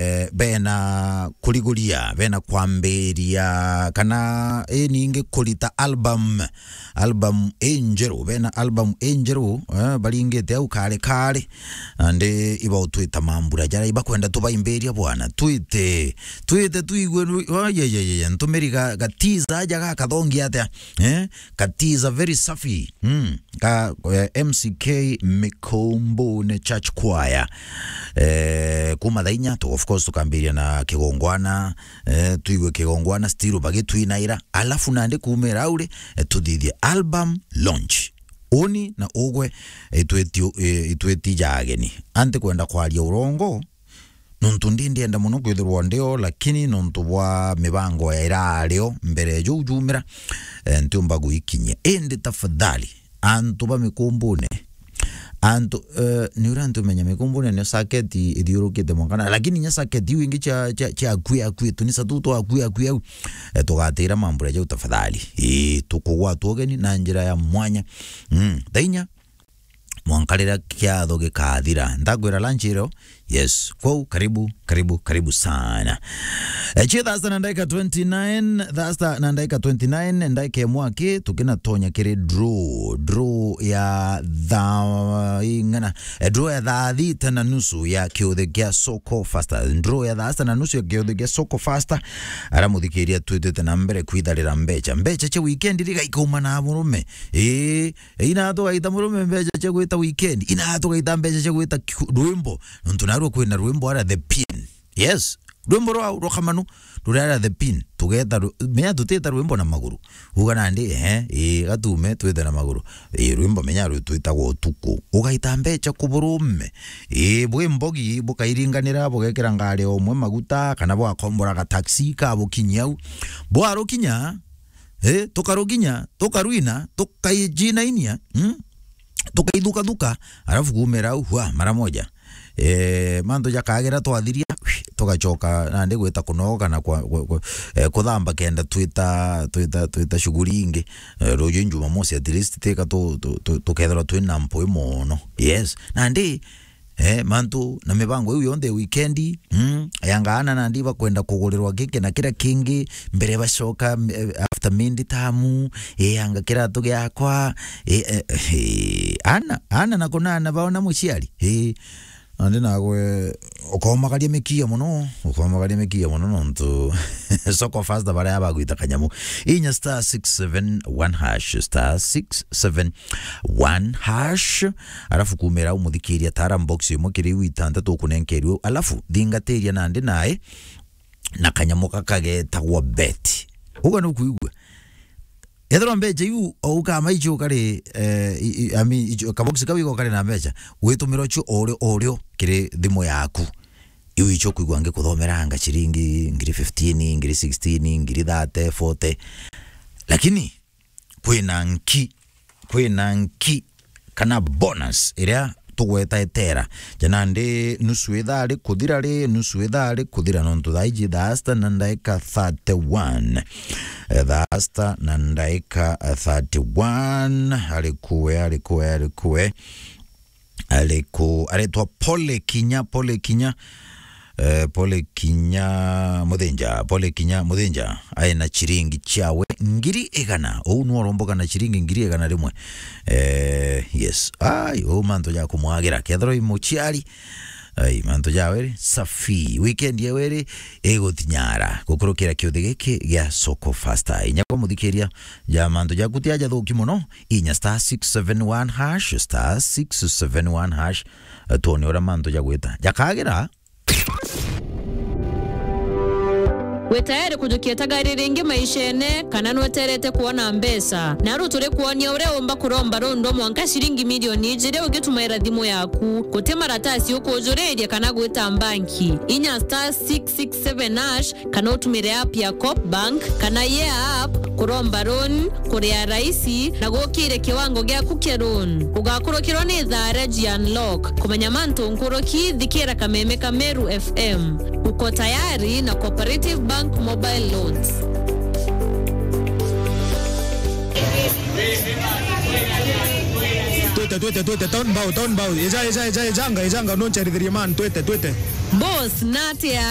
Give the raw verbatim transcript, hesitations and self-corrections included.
eh, bena kuriguria, bena kwambiria, kana, eh, ningi kurita album, album injeru, bena album injeru, eh, baringite au kare kare, nandi ibautwita mambura jaria ibakwenda tubaimbiria bwana, twite, twite tuigue, ru-, oh, ye, ye, ye, ye, ntumiri ga, ga teaser aja gakathongi atia, eh? Katiza very safi. Mm. Ka, eh, M C K Mikombone Church Choir. Eh, kuma thaa inya, tu-, of course, tukambiria na kigongwana, eh, tuigue kigongwana, still bagitwinaira. Alafu nandi kumira auri, eh, tuthithie album launch. Uni na ugwe, itweti, eh, itweti ja ageni. Anti kwenda kwaria urongo, nontu ndi ndienda mono kwithirwa ndio, lakini nontu bwa mibango ya irario mbere juu jumira, eh, ntiumba guikinyia. Indi tafadhali, antu ba Mikombone, antu, eh, ni uria antu menya Mikombone nio circuit ithiurukite mwankana, lakini nya circuit iu ingi cia, cia, cia akui, akui, tunisa tu twa akui, akui au, eh, tugatira mambura jau tafadhali. Ii, tukugwatwa ugeni na njira ya mwanya. Mm, thaa inya, mwanka riria kiatho gikathira. Ndakwira lunch irio? Yes. Kwou, karibu, karibu, karibu sana. Eh, cie thaa sita na ndagika twenty-nine, thaa sita na ndagika twenty-nine, ndagika imwe aki, tukinatonya kiri draw, draw ya thaa ing'ana, eh, draw ya thaa thita na nusu ya kiuthi kia Soko Fasta. Draw ya thaa sita na nusu ya kiuthi kia Soko Fasta, aria muthikiria twitite na mbere kwitharira mbecha. Mbecha cia weekend riga ikauma na murume. Ii, Ina tugaita murume mbecha cia gwita weekend. Ina tugaita mbecha cia gwita ki-, rwimbo. Nontu narua kwina rwimbo ara The Pin. Yes. Rwimbo rwa, rwa kamanu, rurera The Pin. Tugeta ru-, menya tutita rwimbo na maguru. Uga nandi, ehe, ii, gatume twite na maguru. Ii, rwimbo menya rwitwitagwo utuku. Ugaita mbecha ku burume. Ii, bwi mbogi, bukairinganira, bugekira ngari omwe maguta, kana bwakombora ga taxi, kabukinyia au. Bwarukinya, Eh, tukaruginya, tukarwina, tukaijinainia, mm? Tukaithukathuka, alafu kuumira au, hwa, mara moja. Eh, mantu jakagira twathiria, tugacoka nandi gwita kunoga na kwa, kwa, kwa, eh, kuthamba kenda twita, twita, twita shughuli ingi. Eh, ruju Jumamosi at least tika tu, tu, tu, tukethirwa twina mpwi mono. Yes. Nandi Eh, mantu na mibango iu yonthe ya weekend, mm, yanga ana nandi bakwenda kugurirwa giki na kiria kingi mbere bacoka, eh, after mindi tamu, eh, yanga kiratu giakwa, eh, eh, eh, ana, ana na kunana baona muciari, eh, nandi nagwe ukomagaria mikia mono, ukomagaria mikia mono nontu Soko Fasta baria bagwita kanyamu. Inya star six seven one hash, star six seven one hash. Alafu kumira umuthikiria tara box imwe kiri iu itantatu ukunenkerwe. Alafu thingatiria nandi nae na kanyamu gaka getagwa bet. Uga nukwigua? Ethirwa mbecha iu o ukama icio kari, eh, i, i, I mean, icio, kabox kau iko kari na mbecha, witumira cio o rio, o rio kiri thimu yaku. Iu icio kwigua ngikuthomera anga ciringi ngiri fifteen, ngiri sixteen, ngiri thirty, forty. Lakini kwina nki, kwina nki kana bonus iria tugweta etera. Ja nandi nusu ithaa rikuthira ri, nusu ithaa rikuthira, nontu thaa iji thaa sita na ndaika thirty-one. Eh, thaa sita na ndaika thirty-one. Ari kuwe, ari kuwe, ari kuwe. Ariku-, aretwa Pole Kinya, Pole Kinya. Eh, Pole Kinya Muthinja, Pole Kinya Muthinja. Aina chiringi chiawe ngiri igana. Ou nu aromboka na chiringi ngiri igana rimwe. Eh, yes. Ai, ou mantu ja kumwagira. Kethirwa i muciari. Ai, mantu jawe ri, safi. Weekend yawe ri, igutinyara. Gukurukira kiuthi giki gia Soko Fasta. Inya kwa muthikiria, ja mantu jaku ti aja thuki mono. Inya star six seven one hash, star six seven one hash. Eh, twone uria mantu jagwita. Jakagira? Wi tayari kujukia itagari ringi maishene, kana nweterete kwona mbeca? Naru turi kwonia uria umba kuromba rundu mwanka ciringi milioni ijiri ugitumaira thimu yaku. Guti maratasi ukujuriria kana gwita mbanki. Inya star six six seven hash, kana utumire app ya Coop Bank kana Yeah App kuromba loan, kuria raisi na gukire kiwango giaku kia loan. Ugakurukirwa ni thaa ria G Unlock. Kumenya mantu nkuruki, thikira kameme ka Meru F M. Uko tayari na Cooperative Bank Mobile Loans. Twite, twite, twite, town bow, town bow. Eja, eja, eja, ejanga, ejanga, noncherithirie man, twite, twite. Boss, natia